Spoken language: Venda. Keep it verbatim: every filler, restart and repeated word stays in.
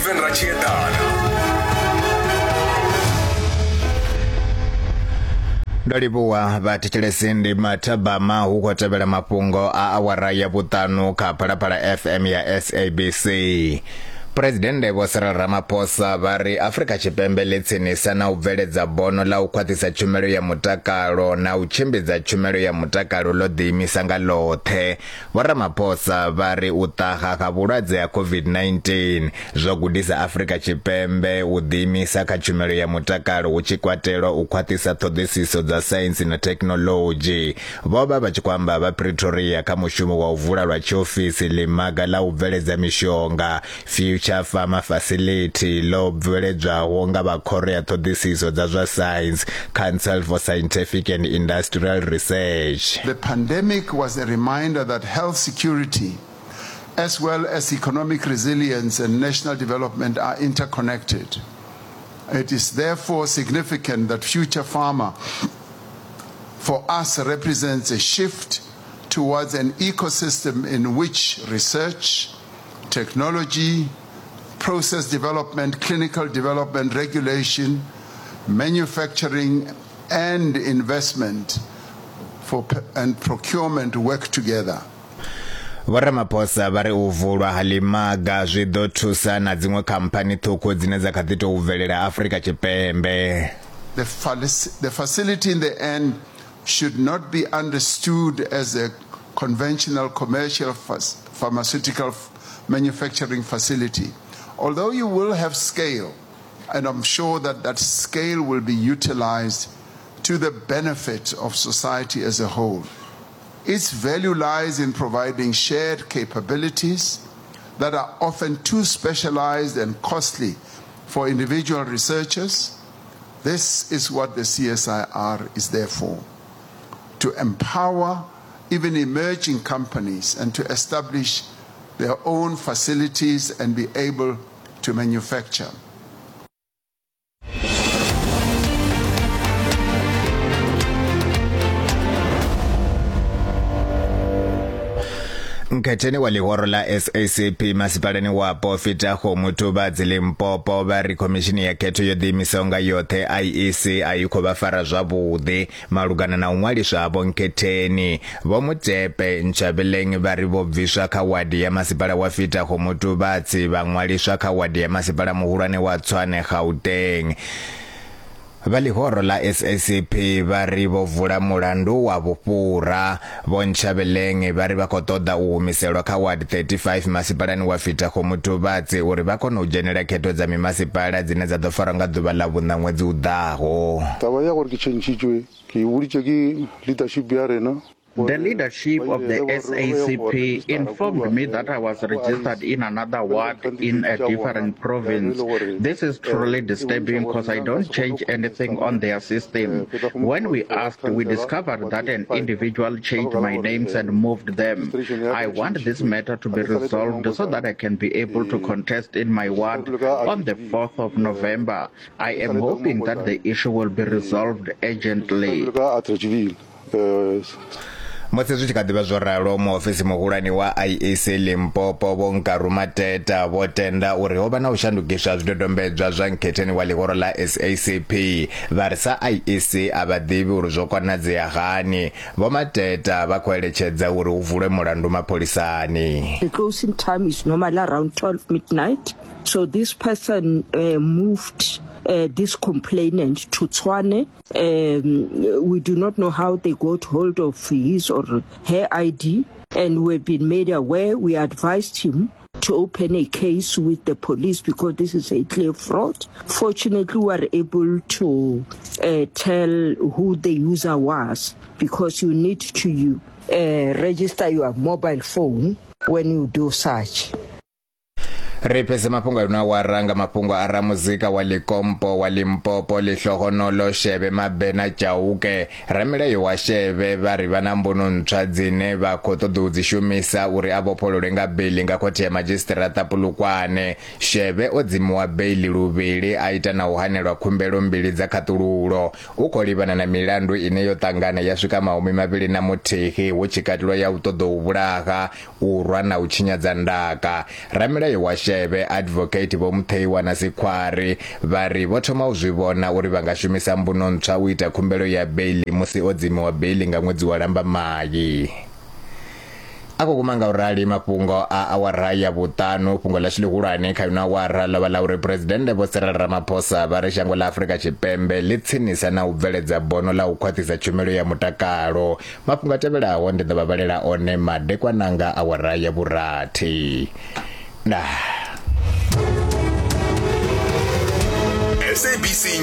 Stephen Ratshiedana. Ndo livhuwa vhathetshelesi, ndi mathabama hu khou tevhela mafhungo a awara ya vhuṱanu kha Phalaphala F M ya S A B C. Presidennde Vho Cyril Ramaphosa vha ri Afrika Tshipembe ḽi tsinisa na u bveledza bono ḽa u khwaṱhisa tshumelo ya mutakalo na u tshimbidza tshumelo ya mutakalo ḽo ḓiimisa nga ḽoṱhe. Vho Ramaphosa vha ri u ṱaha ha vhulwadze ha COVID nineteen zwo gudisa Afrika Tshipembe u ḓiimisa kha tshumelo ya mutakalo hu tshi kwatelwa u khwaṱhisa ṱhoḓisiso dza saintsi na thekhinoḽodzhi. Vho vha vha tshi khou amba vha Pretoria kha mushumo wa u vula lwa tshiofisi ḽimaga ḽa u bveledza mishonga Future Pharma Facility ḽo bveledzwaho nga vha khoro ya ṱhoḓisiso dza zwa science, Council for Scientific and Industrial Research. The pandemic was a reminder that health security as well as economic resilience and national development are interconnected. It is therefore significant that Future Pharma for us represents a shift towards an ecosystem in which research, technology, process development, clinical development, regulation, manufacturing, and investment for and procurement work together. Vho Ramaphosa vha ri u vulwa ha ḽimaga zwi ḓo thusa na dziṅwe khamphani ṱhukhu dzine dza kha ḓi tou bvelela Afrika Tshipembe. The, the facility in the end should not be understood as a conventional commercial pharmaceutical manufacturing facility. Although you will have scale, and I'm sure that that scale will be utilized to the benefit of society as a whole. Its value lies in providing shared capabilities that are often too specialized and costly for individual researchers. This is what the C S I R is there for, to empower even emerging companies and to establish their own facilities and be able to manufacture. Nkhetheni wa ḽihoro ḽa S A C P masipalani wapo Fitaho Mutuvhadzi Limpopo vha ri khomishini ya khetho yo ḓiimisaho nga yoṱhe I E C a i khou vha fara zwavhuḓi malugana na u ṅwaliswa ha vho Nkhetheni. Vho Mutepe Ntshavheleng vha ri vho bviswa kha wadi ya masipala wa Fitaho Mutuvhadzi vha ṅwaliswa kha wadi ya masipala muhulwane wa Tshwane Gauteng. Vha ḽihoro ḽa S A C P vha ri vho vula mulandu wa vhufhura. Vho Ntshavheleng vha ri vha khou ṱoḓa u humiselwa kha ward thirty-five masipalani wa Fitaho Mutuvhadzi uri vha kone u dzhenela khetho dza mimasipala dzine dza ḓo farwa nga ḓuvha ḽa vhuṋa ṅwedzi u ḓaho. Taba ya gore ke tšhentšhitšwe ke boditše ke leadership ya rena. The leadership of the S A C P informed me that I was registered in another ward in a different province. This is truly disturbing because I don't change anything on their system. When we asked, we discovered that an individual changed my names and moved them. I want this matter to be resolved so that I can be able to contest in my ward on the fourth of November. I am hoping that the issue will be resolved urgently. Musi zwi tshi kha ḓivha zwo ralo, muofisi muhulwane wa I E C Limpopo Vho Nkaru Mateta vho tenda uri ho vha na u shandukiswa zwidodombedzwa zwa nkhetheni wa ḽihoro ḽa S A C P. Vha ri sa I E C a vha ḓivhi uri zwo konadzea hani. Vho Mateta vha khou eletshedza uri hu vulwe mulandu mapholisani. The closing time is normally around twelve midnight. So this person uh, moved Uh, this complainant to Tshwane. Um, we do not know how they got hold of his or her I D, and we've been made aware. We advised him to open a case with the police because this is a clear fraud. Fortunately, we were able to uh, tell who the user was, because you need to uh, register your mobile phone when you do such. Ri fhedze mafhungo a wa ranga mafhungo a ramuzika wa Likompo wa Limpopo Lihlohonolo Shebe Mabena Chauke. Ramilayo wa Shebe vha ri vha na mbuno ntswa dzine vha khou ṱoḓa u dzi shumisa uri a vhofhololwe nga beili nga khothe ya madzhisiṱiraṱa Polokwane. Shebe o dzimiwa beili luvhili a ita na u hanelwa khumbelo mbili dza khaṱululo. U khou livhana na milandu ine yo ṱangana ya swika mahumi mavhili na muthihi hu tshi katelwa ya u ṱoḓa u vhulaha, u rwa na u tshinyadza ndaka. Ramilayo wa Seshebe Advocate Vho Mutheiwa na Sikhwari vha ri vho thoma u zwi vhona uri vha nga shumisa mbuno ntswa u ita khumbelo ya beili musi o dzimiwa beili nga ṅwedzi wa Lambamai. A khou guma nga u rali mafhungo a awara ya vhuṱanu. Fhungo ḽashu ḽihulwane kha ino awara ḽo vha ḽa uri Phresidennde Vho Cyril Ramaphosa vha ri shango ḽa Afrika Tshipembe ḽi tsinisa na u bveledza bono ḽa u khwaṱhisa tshumelo ya mutakalo. Mafhungo a tevhelaho ndi ḓo vha vhalela one madekwana nga awara ya vhurathi. Ndaa. S A B C.